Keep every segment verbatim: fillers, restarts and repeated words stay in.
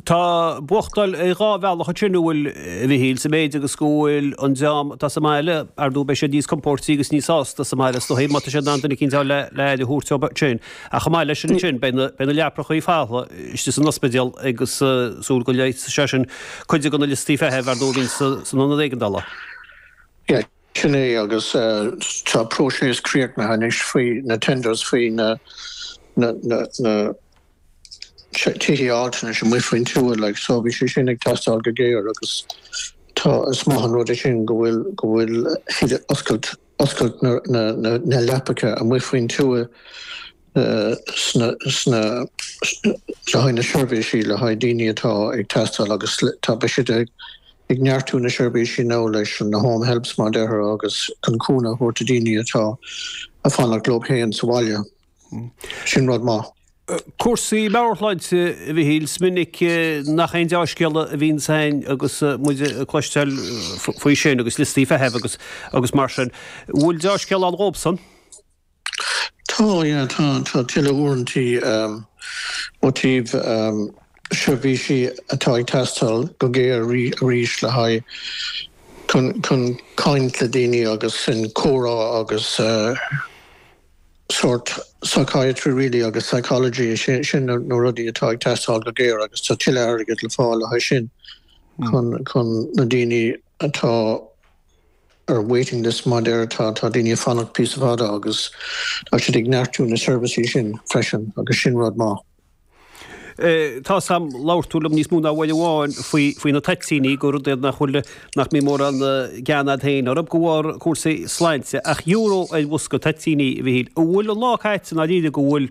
Tá buachtáil dhá bhealach sin bhfuil a Mhichíl sa méid agus go bhfuil an dream atá sa mbaile ar ndóigh beidh siad níos compórdaí agus níos sásta sa mbaile is dóigh má tá siad in ann duine eicínt le le aire a thabhairt dóibh sin. Ach chomh maith leis sin sin beidh na beidh na leaprachaí folamh istigh san ospidéal agus súil go leigheasfaidh sé sin cuid de na liostaí feithimh ar ndóigh a bhíonn san ionad éigeandála. Yeah, sin é agus tá próiseas críochnaithe anois faoi na tenders faoi na na na na tithe altranais amuigh faoin tuath like so bhí sé sin ag teastáil go géar agus tá is maith an rud é sin go bhfuil go bhfuil siad oscailt oscailt na na na na leapacha amuigh faoin tuath sna sna le haghaidh na seirbhísí le haghaidh daoine atá ag teastáil agus tá beidh siad ag ag neartú na seirbhísí nó leis na home helps mar deir agus chun cúnamh a thabhairt do daoine atá ag fanacht leo féin sa bhaile. Sin rud maith. Cúrsaí meabhairshláinte a Mhichíl is minic nach aon dea-scéal a bhíonn ann agus muid ag cloisteáil faoi sin agus liostaí feithimh agus agus mar sin. Bhfuil dea-scéal ann dhóibhsan? Tá yeah, tá tá tuilleadh uaireantaí um, ó taobh um, seirbhísí atá ag teastáil go géar arís le haghaidh chun chun caint le daoine agus sin comhrá agus uh, sort psychiatry really agus psychology sin sin na rudaí atá ag teastáil go géar agus tá tuilleadh airgead le fáil le haghaidh sin chun chun na daoine atá ar waiting list mar deir tá tá daoine fanacht píosa fada agus tá siad ag neartú na seirbhísí sin freisin agus sin rud maith. Tá sam labhair tú liom níos mó ná uair amháin faoi faoi na toitíní gur rud nach bhfuil nach mbíonn mórán gean agat féin orthu de bharr cúrsaí sláinte ach euro ar bhosca toitíní a Mhichíl. An bhfuil an lá caite ná líle go bhfuil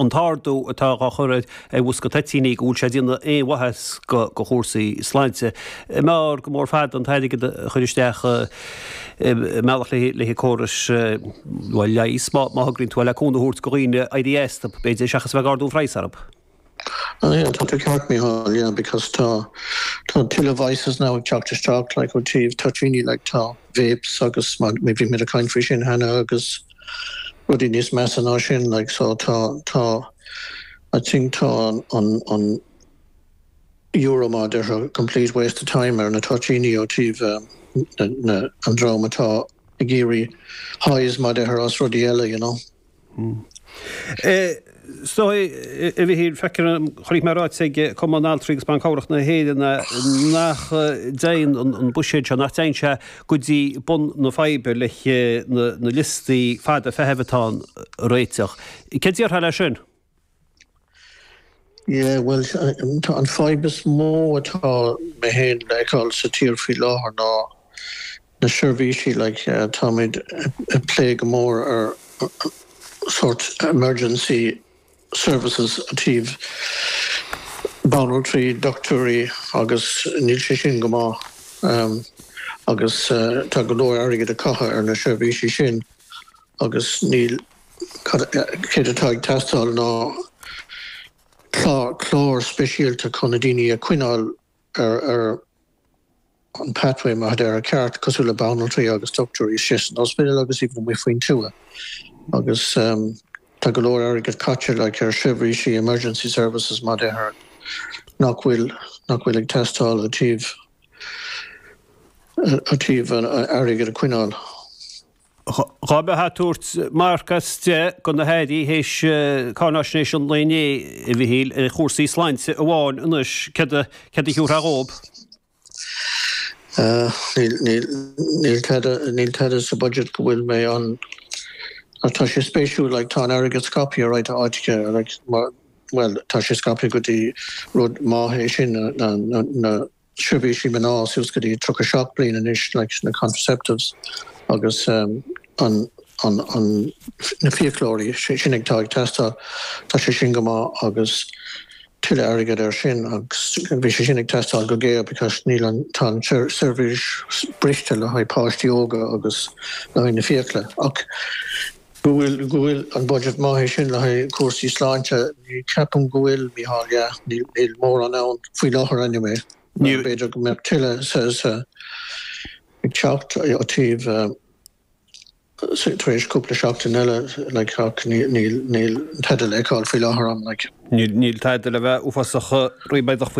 an t-ardú atá á chur ar bhosca toitíní go bhfuil sé ag déanamh aon mhaitheas go go chúrsaí sláinte. Mar go mór fad an t-airgead a chur isteach mbealach le le córas leighis má má thugann tú le cúnamh a thabhairt do dhaoine éirí astu b'fhéidir seachas bheith ag ardú praghas orthu. Oh, yeah, tá tú ceart Micheál, yeah, because tá tá tuilleadh vices now ag teacht isteach like ó taobh toitíní like tá vapes agus má bhí mé ag caint faoi sin cheana agus rudaí níos measa ná sin like so tá tá I think tá an an an euro mar deir complete waste of time ar na toitíní ó taobh um, na, na, an dream atá ag iarraidh highs mar deir as rudaí eile you know. Mm. Eh, So a Mhichíl chonaic mé ráite ag Cumann Altraí agus Ban Cabhrach na hÉireann nach dtéann an buiséad seo nach dtéann sé go dtí bun na faidhbe le na, na liostaí fada feithimh atá a réiteach. Cé déarfá leis sin? Yeah, well tá an fadhb is mó atá mé féin le feiceáil sa tír faoi láthair ná na seirbhísí like, uh, táimid ag plé go mór ar sort emergency services ó taobh banaltraí dochtúirí agus níl sé sin go maith um, agus uh, tá go leor airgead a caitheamh ar na seirbhísí sin agus níl céard atá ag teastáil ná clár speisialta chun na daoine a choinneáil ar ar an pathway mar ar a ceart cosúil le banaltraí agus dochtúirí sé san ospidéal agus even amuigh faoin tuath agus um, tá go leor airgead caite le ar seirbhísí emergency services mar deir nach bhfuil nach bhfuil ag teastáil ó taobh ó taobh an airgead a choinneáil. Dá mbeifeá ag tabhairt marc as deich do na hairí théis cáinaisnéis an lae inné a Mhichíl ar chúrsaí sláinte amháin anois céard a thabharfá dhóibh. Níl níl tada sa budget go bhfuil mé an tá sé spéisiúil like, tá an airgead scaipthe right áite like, well tá sé scaipthe go dtí rud maith é sin na, na, na seirbhísí mná suas go dtí tríocha seacht bliain anois like, na contraceptives agus um, an an, an na fiaclóirí sin ag tá ag teastáil tá sé sin go maith agus tuilleadh airgead ar sin agus bhí sé sin ag teastáil go géar because níl an tá seirbhís briste le haghaidh páistí óga agus le haghaidh na fiacla ach go bhfuil go bhfuil an budget maith sin le haghaidh cúrsaí sláinte ní ceapaim go bhfuil Micheál níl níl mórán ann faoi láthair anyway b'fhéidir go mbeadh tuilleadh sa sa ag teacht ó taobh tar éis cúpla seachtain eile like níl níl tada le feiceáil faoi láthair an like. Níl tada le bheith uafásach ríméadach faoi